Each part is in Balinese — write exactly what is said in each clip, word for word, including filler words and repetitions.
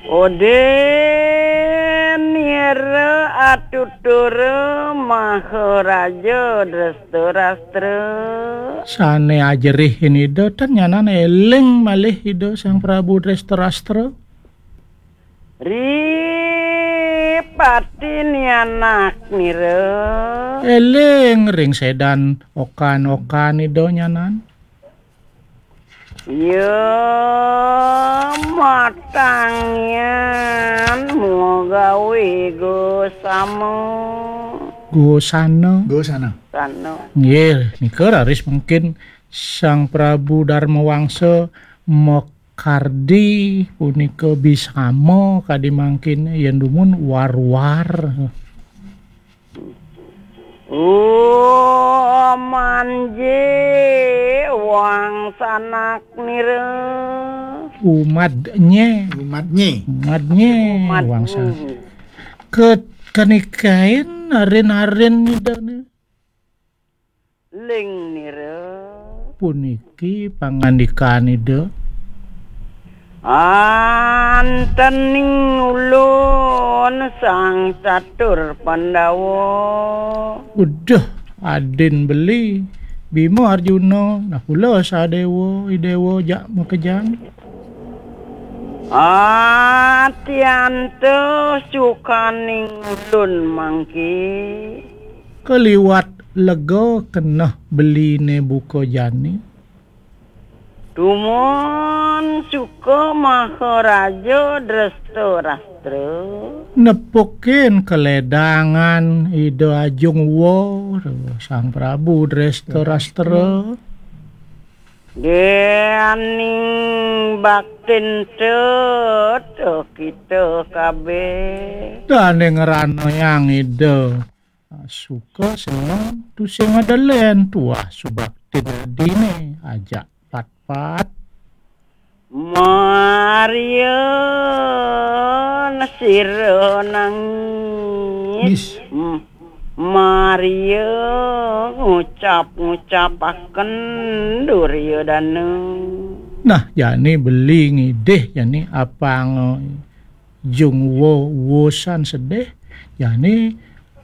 Oden nira atutur Maharaja Drestadrastra. Sane ajerihin Ida, tan nyanan eling malih Ida Sang Prabu Drestadrastra. Ripati nianak nira. Eling ring sedan okan-okan Ida nyanan. Ya matangyan mugawe gosama. Gosana. Gosana. Sana. Nggih, nika raris mungkin Sang Prabu Darma Wangsa makardi punika bisama kadi mangkin yen dumun war-war. Oh, manje wangsanak nira. Umadnye. Umadnye. Umadnye. Umadnye. Wangsa. Ke-, kanikain arin-arin Ida ni. Ling nira. Puniki pangandikan Ida. Antening ulun Sang Catur Pandawa. Uduh, adin beli. Bima Arjuna, nah kula Sadewa, Idewa jak makejang. Atianta sukaning ulun mangke. Kaliwat lega keneh beline buka jani. Dumun suka Maharaja Drestadrastra. Nepukin keledangan Ida Ajung Wa, Sang Prabu Drestadrastra. Dening baktin teta kita kabeh. Dane ngranayang Ida. Suka seneng tusing adelen tuah subaktin adine ajak pat-pat. Maria sira nangis. Nis. M-, Maria ngucap-ngucapaken Duryodana. Nah, jani beli ngidih, jani apang Jung Wo wusan sedih, jani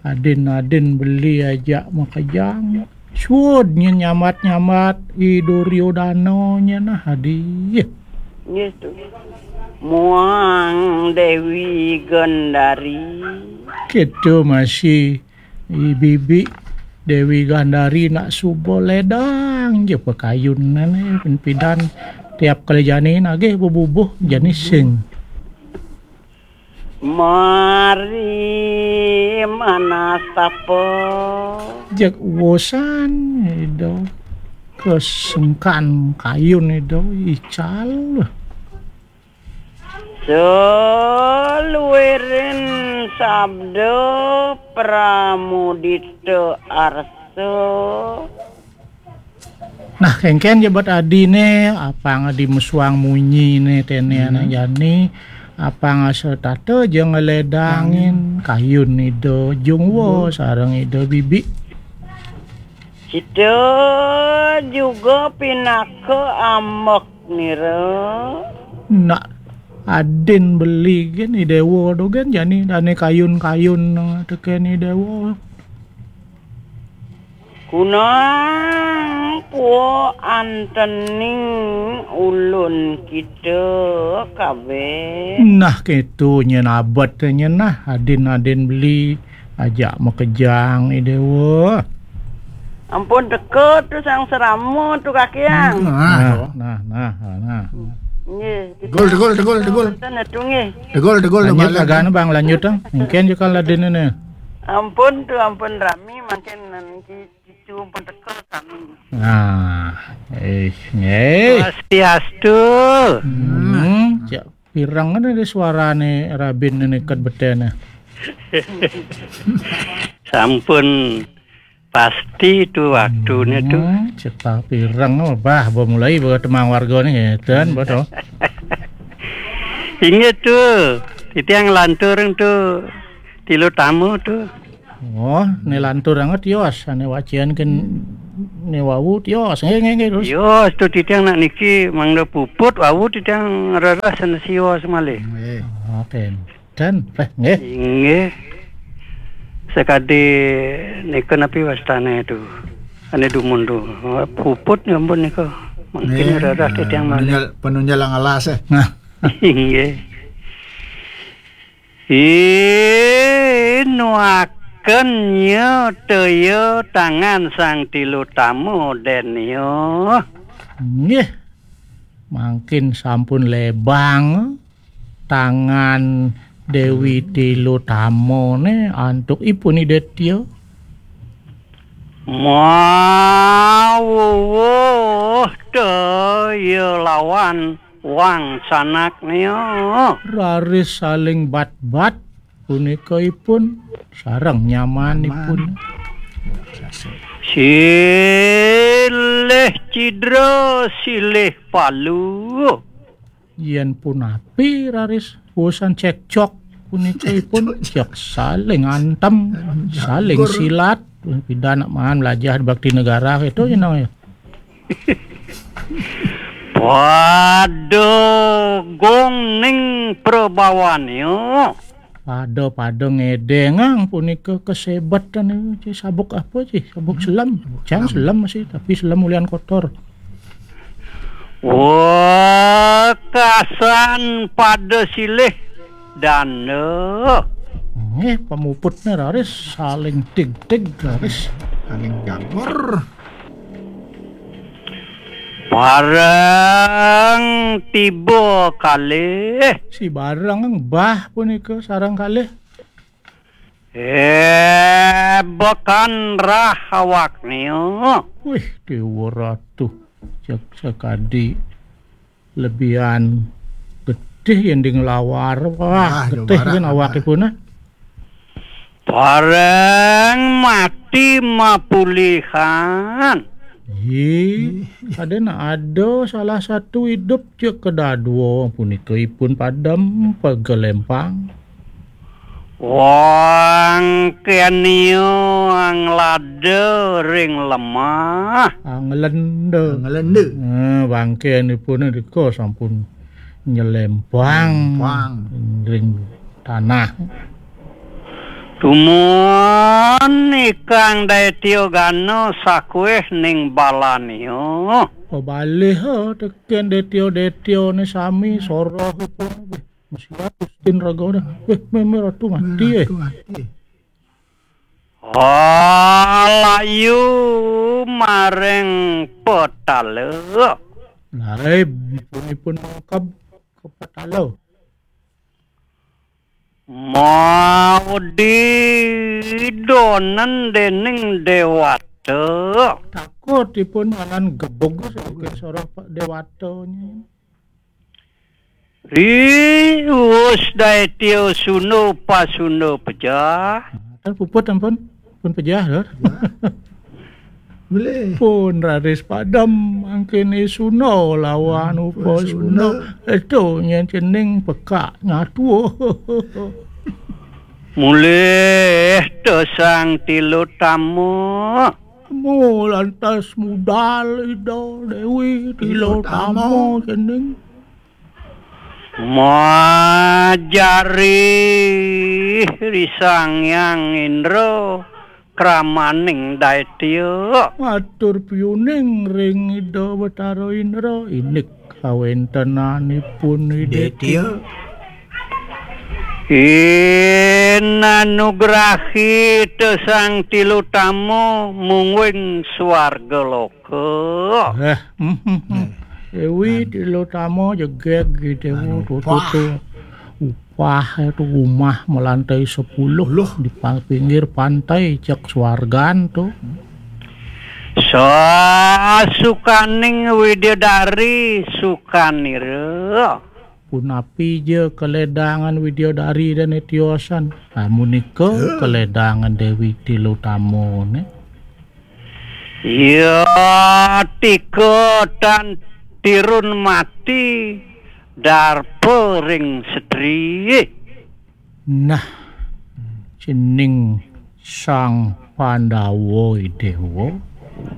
adin-adin beli ajak makejang. Suud nyen nyambat-nyambat I Duryodana nyen nah adi. Gitu. Muang Dewi Gandari. Gitu masih I bibi Dewi Gandari nak suba ledang ja pakayunan, eh, pidan tiap kali jani nagih bebubuh jani sing. Mari manastapa. Jeg wosan Ida kesengkan kayun Ida ical. Saluiring sabda pramudita arsa. Nah, kengken ja bad adine, apang adi mesuang munyine tene anak jani, apang asa tata ja ngeledangin kayun Ida Jungwa sareng Ida Bibi. Kita juga pinaka ambek nira. Nak adin beli gen I Dewa tu gen jani dane kayun-kayun, eh, teken I Dewa. Kunang pua antening ulun kita kabeh. Nah, keto nyen abet nyen nah, adin-adin beli ajak makejang I Dewa. Ampun teka tu Sang Serama tu kakiang. Nah, nah, nah, nah, nah. Nggih, kita Tegul, tegul, tegul, tegul. Ten tu nggih. Tegul, tegul, Lanjut tegul. Agane, Bang, lanjut, ah. Mungkin juga ladinene. Ampun tu, ampun rami, makin nanti itu ampun teka kami. Nah, eh, nggih. Swastiastu. Hmm, cak pirang kan ada suarane rabin neket betene. Sampun pasti tu waktune tu. Hmm, cetah pirang, oh, bah, ba mulai ba temang warga ni, ngeten, ba to. Inggih tu, titiang lantur tu tilu tamu tu. Oh, ne lantur anget yos, ane wacian ken Ni wau tios. Nggih, nggih, nggih, terus. Tios tu titiang nak niki mangda puput, wau titiang reres sana sios malih. Nggih. Ah, ten. Dan, eh, nggih. Inggih. Sakadi nika napi wastane tu? Ane dumun tu. Puput nyampun nika. Mungkin reres titiang malih. Penunjal, penunjal yang alas, eh. Nah. Inggih. Inuaken nya teya tangan Sang Tilutama denia. Nggih. Mangkin sampun lebang tangan Dewi Tilutamane antuk ipun Ida Tia. Mawuwuh teya lawan wangsanak nia. Raris saling bat-bat punika ipun sareng nyamanipun. Silih cidra, silih palu. Yen punapi raris urusan cekcok punika ipun cek saling antem, saling silat, pidan maan melajah bakti negara itu ya nang ya. Pada gong ning prabawannya. Pada-pada ngedengang punika kesebetan niku, ci sabuk apa, ci? Sabuk selam. Cang selam masih, tapi selam ulian kotor. Wekasan pada silih danda. Nggih, pamuputne raris saling tig-tig raris. Saling gagor. Bareng tiba kalih. Si bareng bah punika sareng kalih. Eh, bekan rah awaknya. Wih, Dewa Ratu. Cek sakadi lebihan getih yen di nglawar. Wah, getih kan awakipun, ah. Bareng mati mapulihan. Ih, ada nak ada salah satu hidup cek kedadua punika ipun padem pegelempang. Wangkenia nglada ring lemah. Anglenda. Anglenda. Eh, bangkenipun nika sampun nyelempang ring tanah. Tumun ikang Daitya Gana sakueh ning balania. Pebalih, eh, teken Daitya-Daitya ne sami soroh ipun. Masih Agustin raga dah. Weh, meme ratu mati, eh. Ratu mati. Alayu maring petala. Laib ipun mangkab ke petala. Maudi donen dening dewata. Takut ipun anan gebug saking soroh Pak Dewata nyi. Riwus Daitya Sunda Pasunda pejah. Nah, kan puput ampun. Pun pejah, Lur. Ya. Boleh. Pun raris padem mangkene Sunda lawan upa Sunda. Sunda. Itu nyen cening pekak nyatu. Mulih te Sang Tilutama. Mu lantas mudal Ida Dewi Tilutama. Tilutama cening. Majari ri Sang Hyang Indra kramaning Daitya. Matur piuning ring Ida Betara Indra, indik kawentenanipun Ida Daitya. Inanugrahi te Sang Tilutama mungguing swarga loka. Eh, hmm, hmm, hmm. Dewi Tilutama jegeg gitu, tutu. Upah itu rumah melantai sepuluh di pa-, pinggir pantai cek swargan tu. Sasukaning Widyadari sukanira. Punapi ja kaledangan Widyadari dane tiosan. Amunika kaledangan Dewi Tilutama ne. Ya tika tan tirun mati darpa ring setri. Nah, cening Sang Pandawa Dewa.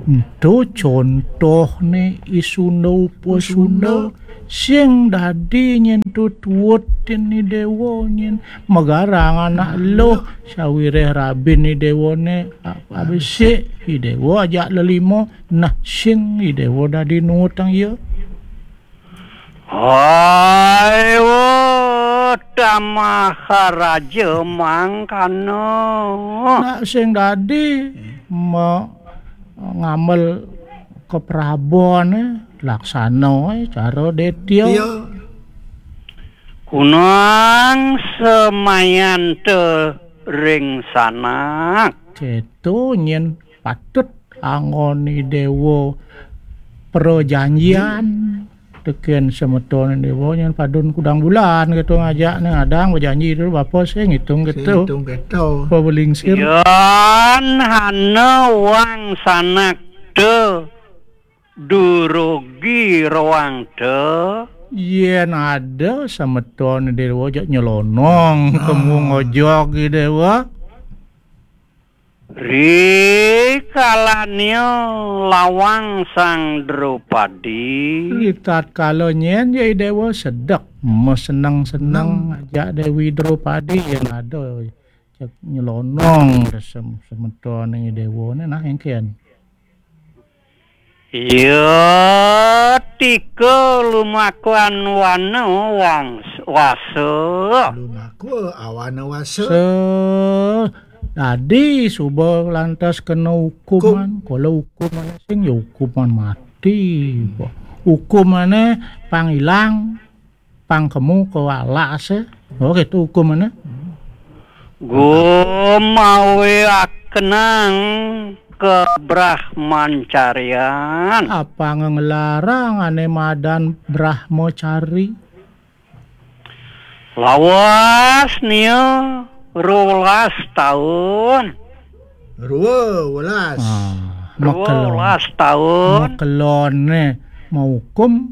Ento contohne i Sunda upasunda, sing dadi nyen tututin i dewa nyen magarang anak luh, sawiréh rabin i dewane a-, abesik, i dewa ajak lelima, nah sing i dewa dadi nuutang iya. Hai, wah, tamah raja mangkana. Nak sing dadi ma-, ngamel keprabon, eh, laksana, eh, cara detya. Iya. Kunang semayanta ring sanak. Kéto nyen patut anggon i dewa prajanjian. Tekén semeton dewa nyen padun kudang bulan kéto ngajakne, ngadang bejanji dulu bapa sing ngitung kéto. Sing ngitung kéto. Apa belingsir? Yan hana wang sanak te durugi roang te. Yén ada semeton dewa jak nyelonong, ah, kemu ngojog i dewa. Ri kalanya lawang Sang Drupadi. Ri tatkala nyen ya i dewa sedek, meseneng-seneng ajak Dewi Drupadi yén ada cek nyelonong sem-, semeton i dewa né nah éngkén. Iya, tika lumakuan wana wangs-, wasa. Lumakua awana wasa. Se-, dadi suba lantas kena hukuman. Hukum. Kala hukuman sing ya hukuman mati. Hukumane pang ilang, pang kemu ka alase. Oh, gitu hukumane. Gumawiakenang kabrahmancarian. Apanga nglarang ane madan brahmacari. Lawas nia rolas taun. Rua welas. Ah, rua welas taun. Makelone maukum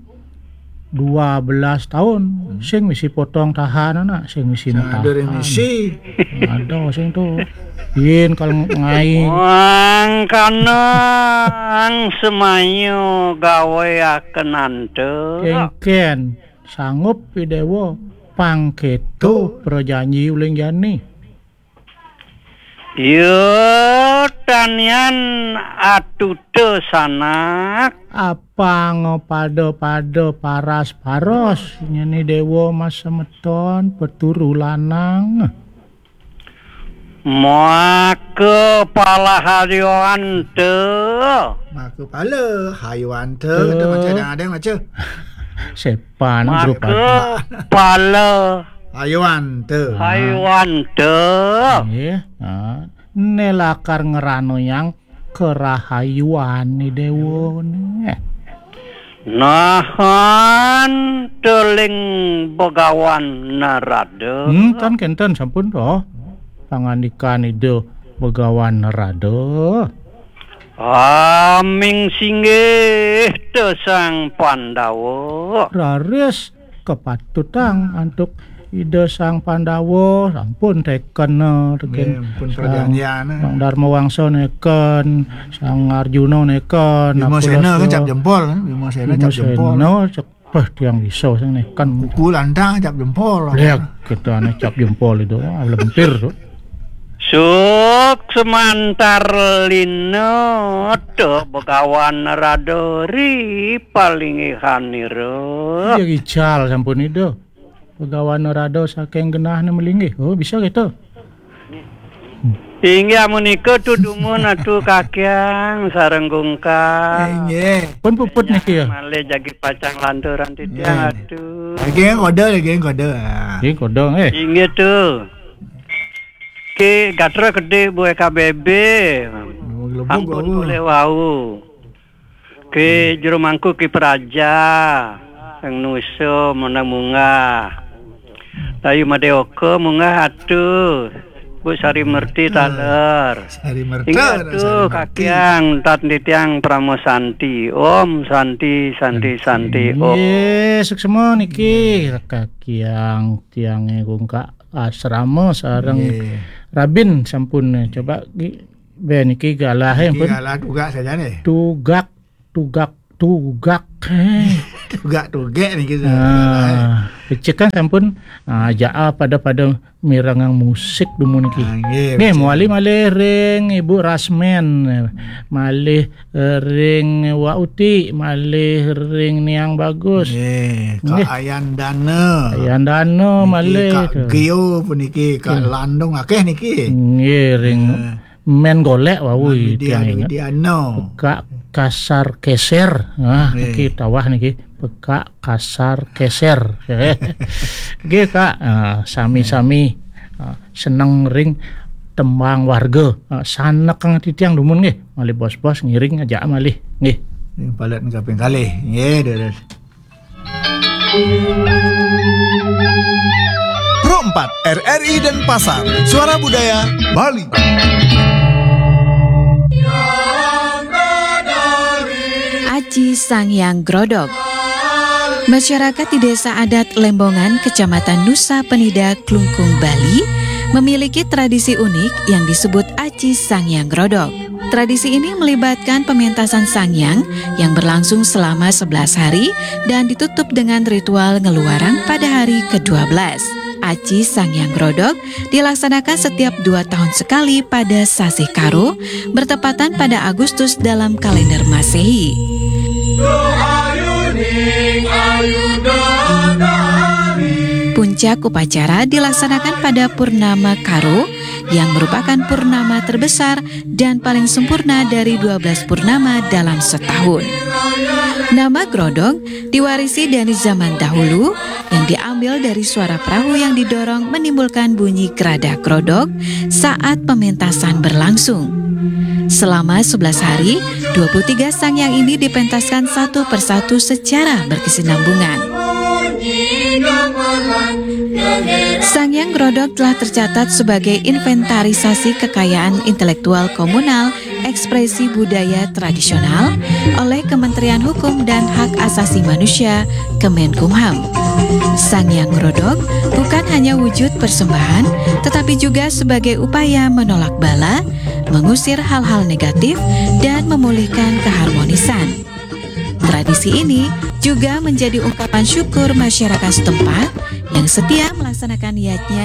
dua belas taun. Hmm. Sing misi potong tahanan, nak, sing misi misi. Ada sing to. Yén kal ngai. Mangkana semaya gaweakenanta. Kéngkén sanggup i dewa pang kéto prajanji uling jani. Ya, tanian atuta sanak. Apang pada-pada paras-paros nyeni dewa mas semeton peturu lanang. Maka palahayuanta. Maka pala hayuanta. Kita baca adang-adang baca. Sepan. Maka pala hayuanta. Hayuanta. Nggih. Nah, né lakar ngranoyang karahayuané dewa né. Nahan teling Begawan Narada. Hmm, tan kénten sampun to. Pangandikan Ida Begawan Narada. Aming singgih te Sang Pandawa. Raris kapatutang antuk Ida Sang Pandawa, sampun teken, eh, teken. Nggih, pun Sang prajanjian, eh. Sang Darma Wangsa neken, Sang Arjuna neken, Bima Sena kan cap jempol, kan? Bima Sena cap jempol. Bima Sena cek, "Wah, tiang bisa sing neken." Kuku lantang cap jempol. Lihat, kita ane cap jempol itu, ah, lempir tuh. Suk semantar lina te Begawan Narada ri palinggihanira. Ya ical sampun Ida. Begawan Narada saking genahne malinggih. Oh, bisa gitu. Inggih menika tudumun Atu Kakyang sareng Gungkang. Inggih. Pun puput niki ya. Malih jagi pacang lanturan titiang Atu. Lagi kodo, lagi kodo. Ah. Nggih, kodo, eh. Inggih tuh. Ki gatra gede buah K B B. Ampun boleh wau. Ki jero mangku ki praja. Sang nusa menang munggah. Dayu Madeoka munggah atu. Bu Sari Merti taler. Sari Merti. Inggih atu Kakyang tat titiang Parama Santi. Om Santi, Santi, Santi, Om. Nggih, suksma niki Kakyang tiange Gungkang asrama sareng Rabin sampun, eh, coba Gi. Be niki galah, eh, Niki pun. Galah tugak saja nih. Tugak, tugak, tugak. Eh. Tugak tugek niki. Ah, becik kan sampun, ah, jaa pada-pada mirengang musik dumun niki. Ah, nggih, nggih, becik. Mawali malih ring Ibu Rasmen, malih ring Wa Uti, malih ring Niang Bagus. Nggih, Kak Nggih. Ayan Dana. Ayan Dana niki malih Kak tu. Gio puniki, Kak Hmm. Landung akeh niki. Nggih, ring Eh. Men Golek wau Widya tiang inget. Widiana. Pekak kasar keser. Ah, Nggih. Niki tawah niki. Pekak kasar keser. Nggih, Kak. Ah, sami-sami, ah, seneng ring tembang warga. Ah, sanekang titiang dumun nggih. Malih bos-bos ngiring aja malih. Nggih. Ring palet kaping kalih. Nggih, Dulur. Pro empat, R R I Denpasar, Suara Budaya Bali. Aci Sangyang Grodog. Masyarakat di Desa Adat Lembongan, Kecamatan Nusa Penida, Klungkung, Bali, memiliki tradisi unik yang disebut Aci Sangyang Grodog. Tradisi ini melibatkan pementasan Sangyang yang berlangsung selama sebelas hari dan ditutup dengan ritual ngeluarang pada hari kedua belas. Aci Sangyang Grodog dilaksanakan setiap dua tahun sekali pada sasih Karo, bertepatan pada Agustus dalam kalender Masehi. Puncak upacara dilaksanakan pada Purnama Karo, yang merupakan purnama terbesar dan paling sempurna dari dua belas purnama dalam setahun. Nama Grodog diwarisi dari zaman dahulu, yang diambil dari suara perahu yang didorong menimbulkan bunyi geradah grodog saat pementasan berlangsung. Selama sebelas hari, dua puluh tiga sangyang ini dipentaskan satu persatu secara berkesinambungan. Sangyang Grodog telah tercatat sebagai inventarisasi kekayaan intelektual komunal ekspresi budaya tradisional oleh Kementerian Hukum dan Hak Asasi Manusia, Kemenkumham. Sangyang Grodog bukan hanya wujud persembahan, tetapi juga sebagai upaya menolak bala, mengusir hal-hal negatif, dan memulihkan keharmonisan. Tradisi ini juga menjadi ungkapan syukur masyarakat setempat yang setia melaksanakan yadnya